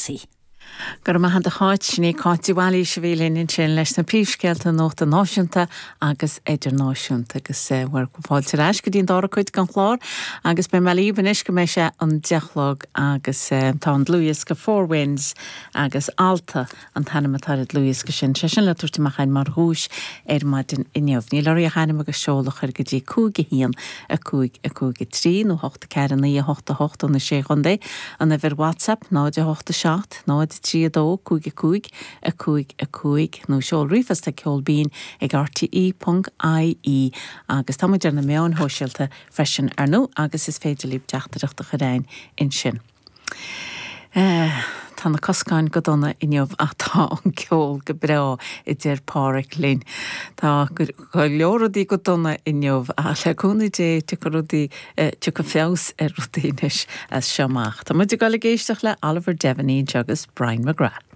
Casey. Go raibh maith agat a Cháit. Sin í Cáit de Bhailís a bhí linn ansin leis na príomhscéalta nuachta náisiúnta agus idirnáisiúnta. Agus bhur bhfáilte ar ais go dtí an dara cuid den chlár agus beidh mé libh anois go mbeidh sé an 10 a chlog agus tá an dlúthdhiosca Four Winds agus Alta an t-ainm atá ar an dlúthdhiosca sin, sé sin le tabhairt amach againn mar dhuais ar maidin inniu. Níl oraibh ach ainm agus seoladh a chur go dtí 5 1 5 5 3 nó 8 4 9 8 8 ó na Sé Chontae, an uimhir WhatsApp 0 8 7 0 3 2 5 5 5 5 nó seol ríomhphost ag ceol binn ag rte ponc ie agus tá muid ar na meáin shóisialta freisin ar ndóigh agus is féidir libh teachtaireacht a chur againn ansin. Tá na coscáin go dona inniu ach tá an ceol go breá, a deir Páraic linn. Tá go leor rudaí go dona inniu ach le cúnamh Dé tiocfaidh rudaí, tiocfaidh feabhas ar rudaí anois as seo amach. Tá muid ag dul ag éisteacht le Oliver Devaney anseo agus Brian McGrath.